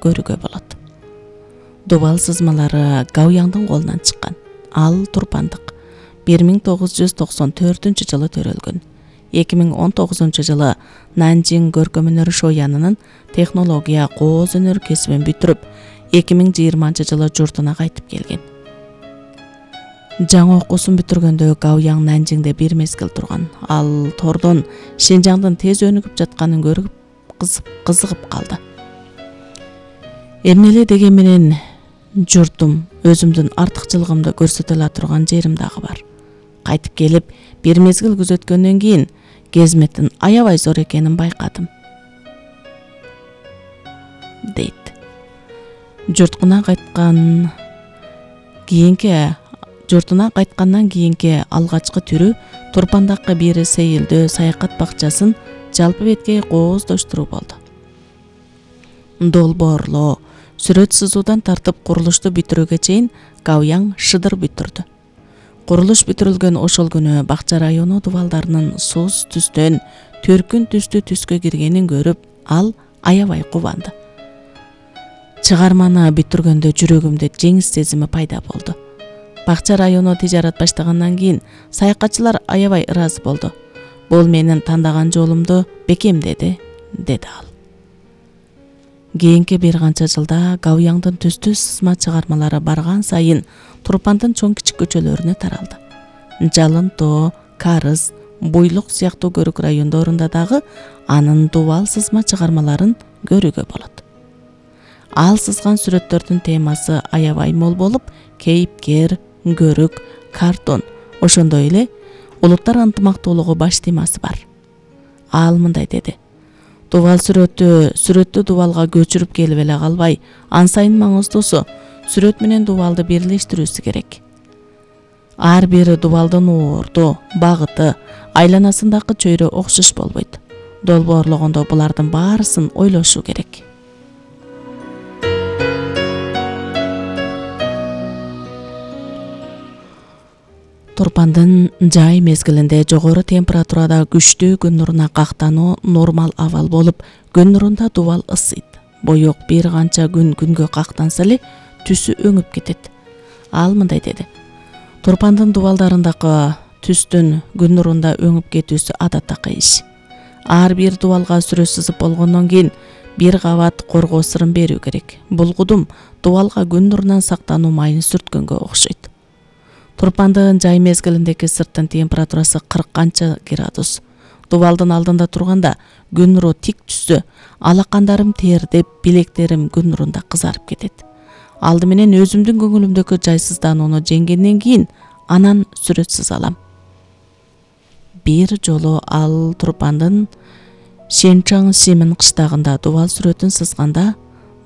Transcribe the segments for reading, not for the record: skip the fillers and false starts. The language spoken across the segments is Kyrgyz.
көрүүгө болот. Дубал сызмалары Гаояңдын колунан чыккан. Ал Турпандык 1994-жылы төрөлгөн. 2019 жылы Нанжин көркөм өнөр шоянынын технология кооз өнөр кесибин бүтүрүп, 2020 жылы журтуна кайтып келген. Жаңы окуусун бүтүргөндө Гаояң Нанжиңде бир мезгил турган. Ал тордон Шинжаңдын тез өнүгүп жатканын көрүп кызыгып калды. Эмне эле деген менен журтум өзүмдүн артыкчылыгымды көрсөтө ала турган жерим дагы бар. Кайтып келип, бир мезгил күзөткөндөн кийин кезметтин аябай зор экенин байкадым, дейт. Журтуна кайткандан кийинки алгачкы түрү Турпандагы бир сейилдөө саякат бакчасын жалпы беткей кооздоштуруу болду. Долбоорлоо, сүрөт сызуудан тартып курулушту бүтүрүүгө чейин Гаояң шыдыр бүтүрдү. Курулуш бүтүрүлгөн ошол күнү бакча району дубалдарынын сус түстөн төркүн түстүү түскө киргенин көрүп, ал аябай кубанды. Чыгарманы бүтүргөндө жүрөгүмдө жеңис сезими пайда болду. Бакча району тижарат баштагандан кийин саякатчылар аябай ыраазы болду. Бул менин тандаган жолумду бекемдеди, деди ал. Кийинки бир канча жылда Гаояңдын түстүү сызма чыгармалары барган сайын Турпандын чоң кичик көчөлөрүнө таралды. Жалын Тоо, Карыз, Буйлук сыяктуу көрүк райондорунда дагы анын дубал сызма чыгармаларын көрүүгө болот. Ал сызган сүрөттөрдүн темасы аябай мол болуп, кейипкер, көрүк, картон, ошондой эле улуттар ынтымактуулугу баш темасы бар. Ал мындай деди: Дубал сүрөттү дубалга көчүрүп келип эле калбай, ан сайын маңыздуусу сүрөт менен дубалды бирлештирүүсү керек. Ар бир дубалдын уурду, багыты, айланасындагы чөйрө окшош болбойт. Долбоорлогондо булардын баарысын ойлошуу керек. Турпандын жай мезгилинде жогору температурада күчтүү күн нуруна кактануу нормал абал болуп, күн нурунда дубал ысыйт. Боек бир канча күн күнгө кактанса эле түсү өңүп кетет. Ал мындай деди: Турпандын дубалдарындагы түстүн күн нурунда өңүп кетүүсү адаттагы иш. Ар бир дубалга сүрөт сызып болгондон кийин бир кабат коргоо сырын берүү керек. Бул кудум дубалга күн нурунан сактануу майын сүрткөнгө окшойт. Турпандын жай мезгилиндеги сырттын температурасы 40 канча градус. Дубалдын алдында турганда күн нуру тик түссө, алакандарым тердеп, билектерим күн нурунда кызарып кетет. Алды менен өзүмдүн көңүлүмдөгү жайсызданууну жеңгенден кийин анан сүрөт сыза алам. Бир жолу ал Турпандын Шенчаң Симин кыштагында дубал сүрөтүн сызганда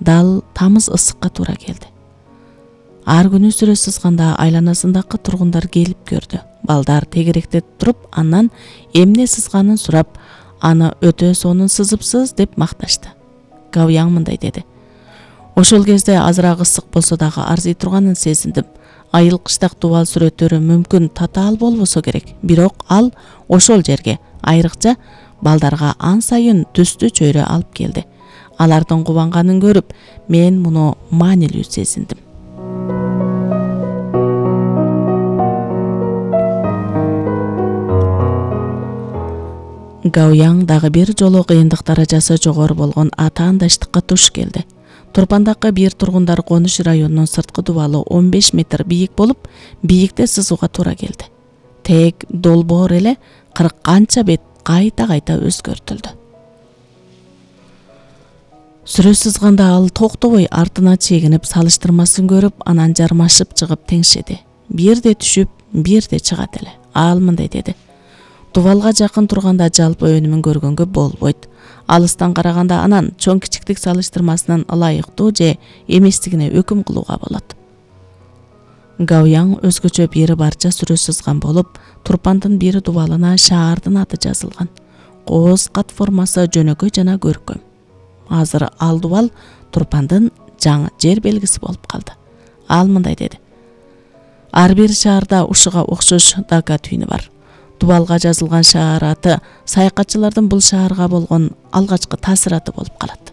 дал тамыз ысыкка туура келди. Ар күнү сүрөт сызганда айланасындагы тургундар келип көрдү. Балдар тегеректеп туруп, андан эмне сызганын сурап, аны өтө сонун сызыпсыз деп макташты. Гаояң мындай деди: Ошол кезде азыраак ысык болсо дагы арзый турганын сезиндим. Айыл кыштак дубал сүрөттөрү мүмкүн татаал болбосо керек, бирок ал ошол жерге, айрыкча балдарга ан сайын түстүү чөйрө алып келди. Алардын кубанганын көрүп, мен муну маанилүү сезиндим. Гаояң дагы бир жолу кыйындык даражасы жогору болгон атаандаштыкка туш келди. Турпандагы бир тургундар конуш районунун сырткы дубалы 15 метр бийик болуп, бийикте сызууга туура келди. Тек долбоор эле 40 канча бет кайта өзгөртүлдү. Сүрөт сызганда ал токтобой артына чегинип салыштырмасын көрүп, анан жармашып чыгып теңшеди. Бирде түшүп, бирде чыгат эле. Ал мындай деди: Дубалга жакын турганда жалпы өнүмүн көргөнгө болбойт. Алыстан караганда анан чоң кичиктик салыштырмасынан ылайыктуу же эместигине өкүм кылууга болот. Гаояң өзгөчө бир барча сүрөт сызган болуп, Турпандын бир дубалына шаардын аты жазылган. Кооз кат формасы жөнөкөй жана көркөм. Азыр ал дубал Турпандын жаңы жер белгиси болуп калды. Ал мындай деди: Ар бир шаарда ушуга окшош Дага түйүнү бар. Дубалга жазылган шаар аты саякатчылардын бул шаарга болгон алгачкы таасираты болуп калат.